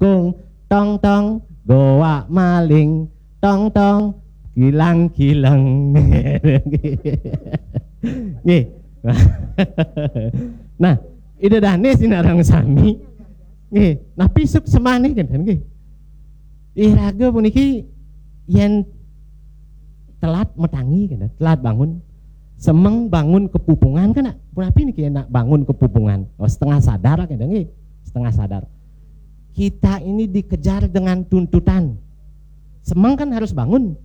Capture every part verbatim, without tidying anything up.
Kung, tong tong, goa maling, tong tong, kilang kilang. Nggih. Nah, Ida Dane sinareng sami. Nggih, napi suksemane kenten nggih. Iraga puniki yen telat matangi kenten, telat bangun. Semeng bangun kepupungan kan, punapi niki nak bangun kepupungan. Oh, setengah sadar kenten nggih. Setengah sadar. Kita ini dikejar dengan tuntutan. Semeng kan harus bangun.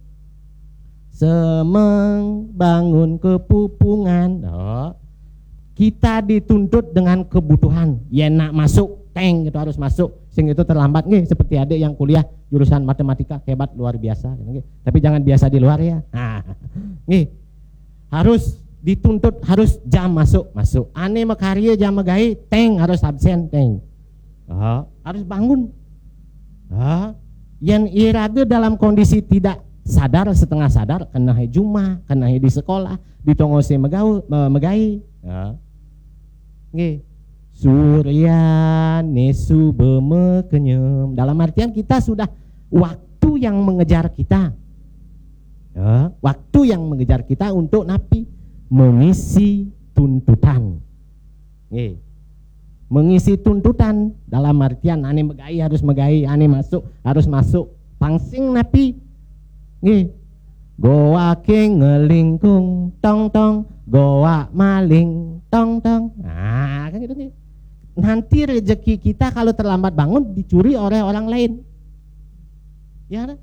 Semeng bangun kepupungan. Oh. Kita dituntut dengan kebutuhan. Yen nak masuk, teng, itu harus masuk. Sing itu terlambat nggih, seperti adik yang kuliah jurusan matematika, hebat luar biasa gitu nggih. Tapi jangan biasa di luar ya. Nah, nggih. Harus dituntut, harus jam masuk, masuk. Ane makarya, jam magaé, teng, harus absen, teng. Oh, harus bangun. Oh, yen iraga dalam kondisi tidak sadar, setengah sadar, kenahe jumah, kenahe di sekolah, di tongose megau, me-, megai. Ya. Nggih. Suryane suba makenyem. Dalam artian kita sudah waktu yang mengejar kita. Ya, waktu yang mengejar kita untuk napi? Mengisi tuntutan. Nggih. Mengisi tuntutan dalam artian ane megai harus megai, ane masuk harus masuk. Pang sing napi? Nggih. Goa king ngelingkung tong tong, goa maling tong tong. Nah, kan gitu nggih. Nanti rezeki kita kalau terlambat bangun dicuri oleh orang lain. Ya, kan?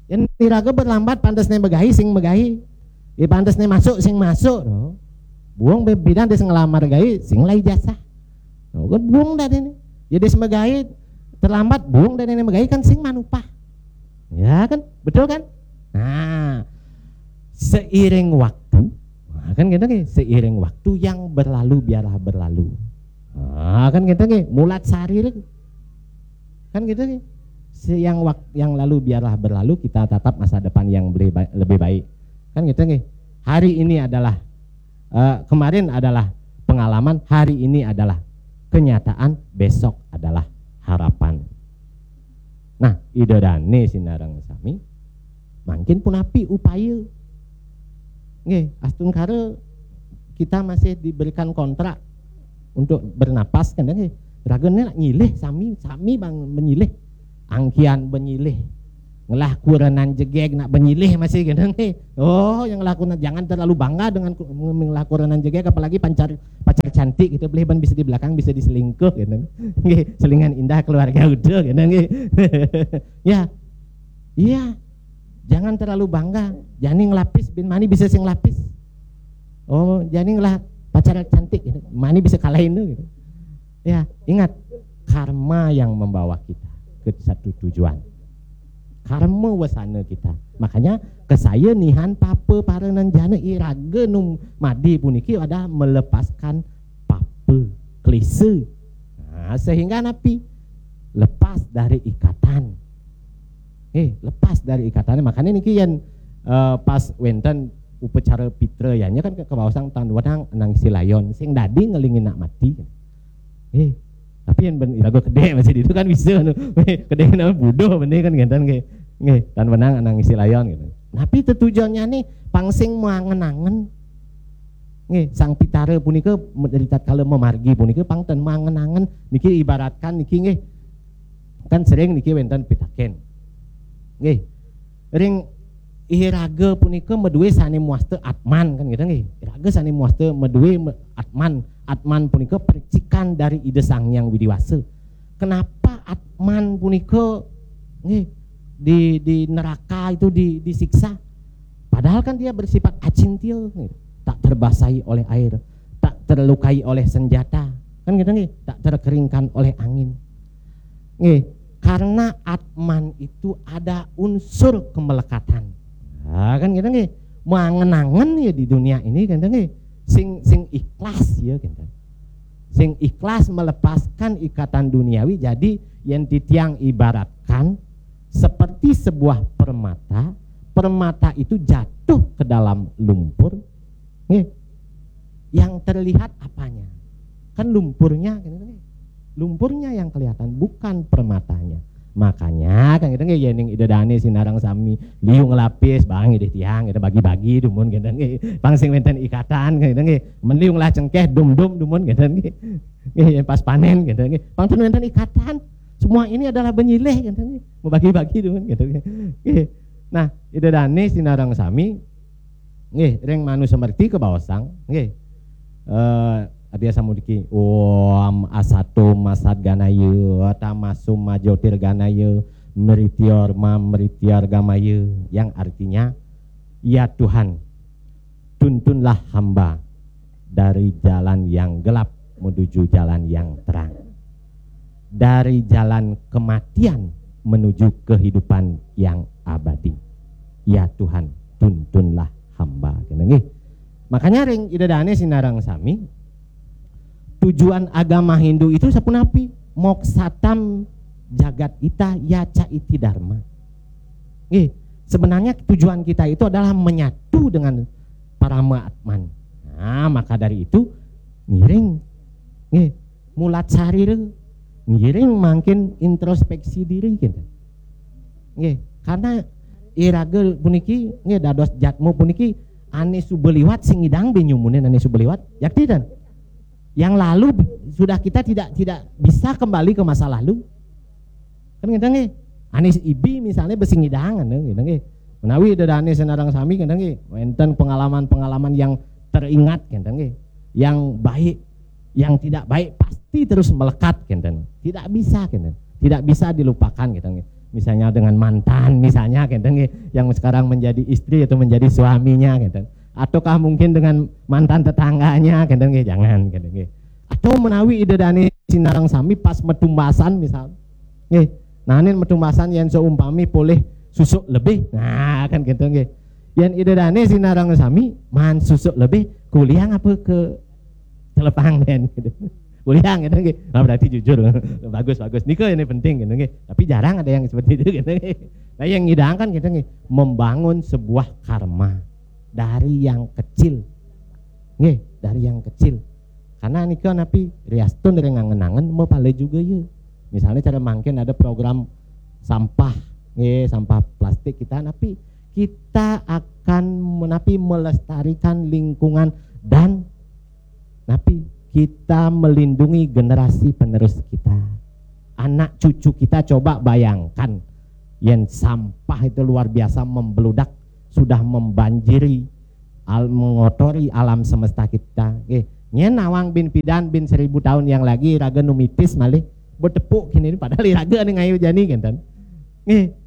Yen iraga berlambat, pantesne megai sing megai. Ya, pantesne masuk sing masuk. No. Buung be-, bidan des ngelamar gaé sing lai jasa. No, kan buung dadene. Ya des megai terlambat, buung dadene megai kan sing manupah. Ya kan? Betul kan? Nah, seiring waktu, nah, kan gitu nggih, seiring waktu yang berlalu biarlah berlalu. Nah, kan gitu nggih, mulat sarir. Kan gitu nggih. Se-, yang wak-, yang lalu biarlah berlalu, kita tatap masa depan yang lebih ba-, lebih baik. Kan gitu nggih. Hari ini adalah, eh, kemarin adalah pengalaman, hari ini adalah kenyataan, besok adalah harapan. Nah, Ida Dane sinareng sami, mangkin punapi upaya? Nggih, astungkara kita masih diberikan kontrak untuk bernapas kan nggih. Ragane nak nyilih sami, sami bang menyilih. Angkian benyilih. Ngelah kurenan jegeg nak benyilih masih kan nggih. Oh, yang ngelah kurenan, jangan terlalu bangga dengan ku-, ngelah kurenan jegeg, apalagi pacar, pacar cantik gitu, boleh ban bisa di belakang, bisa diselingkuh gitu. Nggih, selingan indah keluarga udah gitu nggih. Ya. Iya. Jangan terlalu bangga. Jani ngelapis bin mani bisa sing lapis. Oh, jani ngelah pacar cantik gitu. Mani bisa kalahin tuh gitu. Ya, ingat, karma yang membawa kita ke satu tujuan. Karma wasana kita. Makanya kesaya nihan papa para nanjana, iraga nu madi puniki adalah melepaskan papa, klise. Nah, sehingga napi? Lepas dari ikatan. Eh, lepas dari ikatannya. Makanya niki yen, eh, pas wenten upacara pitra ya, nya kan ke-, kebaosang tan wenang anang isi layon. Sing dadi ngelingin nak mati. Eh, tapi yen ben iraga kedek masih itu kan bisa nu. Kedek nama bodoh bener kan ngenten nggih. Nggih, tan wenang anang isi layon gitu. Tapi tetujuannya nih pang sing mangen-angen. Nggih, Sang Pitara punika me-, ritatkala mamargi punika pang ten mangen-angen niki ibaratkan niki nggih. Kan sering niki wenten pitaken. Nggih. Ring iraga punika madue sane muasta atman kan gitu nggih. Iraga sane muasta madue me-, atman. Atman punika percikan dari Ida Sang Hyang Widi Wasa. Kenapa atman punika nggih di, di neraka itu di, disiksa? Padahal kan dia bersifat acintia, nggih. Tak terbasahi oleh air, tak terlukai oleh senjata, kan gitu nggih, tak terkeringkan oleh angin. Nggih, karena atman itu ada unsur kemelekatan. Nah, kan gitu nggih. Mangen-angen ya di dunia ini kan nggih. Sing, sing ikhlas ya kan. Sing ikhlas melepaskan ikatan duniawi. Jadi yang titiang ibaratkan seperti sebuah permata, permata itu jatuh ke dalam lumpur. Nggih. Yang terlihat apanya? Kan lumpurnya, kan gitu nggih. Lumpurnya yang kelihatan, bukan permatanya. Makanya kan kita nggih, yéning Ida Dané sinareng sami liu nglapis, bang idih tiang kita bagi-bagi dumun kita nggih. Pang sing wénten ikatan kan kita nggih. Men liu ngelah cengkéh dum-dum dumun kita nggih. Nggih, yén pas panén kita nggih. Pang ten wénten ikatan. Semua ini adalah benyilih kita nggih. Membagi-bagi dumun kita nggih. Nggih. Nah, Ida Dané sinareng sami nggih, ring Manu Semerti kabaosang nggih. Eh, Arya Samudiki, Om Asato Masat Ganaya, Tamasum Majotir Ganaya, Mritior Ma Mritiar Gamaya, yang artinya, "Ya Tuhan, tuntunlah hamba dari jalan yang gelap menuju jalan yang terang, dari jalan kematian menuju kehidupan yang abadi. Ya Tuhan, tuntunlah hamba." Kena nggih. Makanya ring Ida Dané sinareng sami, tujuan agama Hindu itu sapunapi? Moksatam jagat ita yaca iti dharma. Nggih, sebenarnya tujuan kita itu adalah menyatu dengan Parama Atman. Nah, maka dari itu ngiring nggih mulat sarira, ngiring mangkin introspeksi diri gitu. Nggih, karena iraga puniki nggih dados jatmu puniki ané suba liwat sing ngidang bé nyumunin ané suba liwat. Yakti dan yang lalu sudah kita tidak tidak bisa kembali ke masa lalu. Kan ngéten nggih. Ané ibi misalnya bé sing ngidang ngéten nggih. Menawi Ida Dané sinareng sami ngéten nggih. Wénten pengalaman-pengalaman yang teringat ngéten nggih. Yang baik, yang tidak baik pasti terus melekat ngéten. Tidak bisa ngéten. Tidak bisa dilupakan ngéten nggih. Misalnya dengan mantan misalnya ngéten nggih, yang sekarang menjadi istri atau menjadi suaminya ngéten. Ataukah mungkin dengan mantan tetangganya ngéten nggih, jangan ngéten nggih. Atau menawi Ida Dané sinareng sami pas metumbasan misal. Nggih. Nah, ini metumbasan yén seumpami polih susuk lebih. Nah, kan gitu nggih. Yén Ida Dané sinareng sami man susuk lebih kuliah apa ke telepang den gitu. Kuliah gitu nggih. Nah, berarti jujur. Bagus, bagus. Nika ini penting gitu nggih. Tapi jarang ada yang seperti itu gitu nggih. Nah, yang ngidang kan gitu nggih, membangun sebuah karma dari yang kecil. Nggih, dari yang kecil. Karena nika napi riastun dari ngangen-angen mapala juga ya. Misalnya cara mangkin ada program sampah, nggih, sampah plastik kita napi kita akan menapi melestarikan lingkungan dan napi kita melindungi generasi penerus kita. Anak cucu kita coba bayangkan, yén sampah itu luar biasa membeludak, sudah membanjiri, al mengotori alam semesta kita. Nggih, nyén nawang bin pidan bin seribu tahun yang lagi raga numitis malih betepuk kini padahal iraga ning ayu jani kenten. Nggih.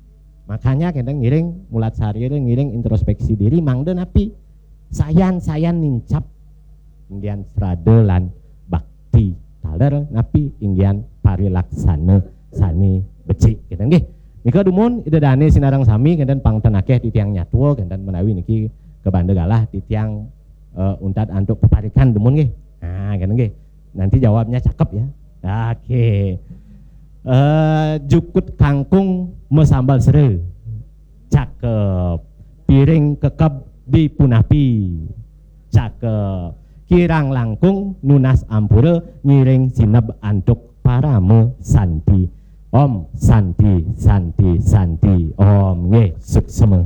Makanya kenten ngiring mulat sarira, ngiring introspeksi diri mangda napi? Sayan-sayan nincap inggian srada lan bakti taler napi inggian parilaksana sane becik kenten nggih. Nika dumun Ida Dane sinareng sami kenten pangten akeh titiang nyatua kenten menawi niki kebanda galah titiang eh, untat antuk peparikan dumun nggih. Nah, kenten nggih. Nanti jawabnya cakep ya. Oke. Eh, jukut kangkung masambal sera. Cakep. Piring kekeb dipunapi. Cakep. Kirang langkung nunas ampura ngiring sineb antuk parama santi. Om santi santi santi. Om nggih suksema.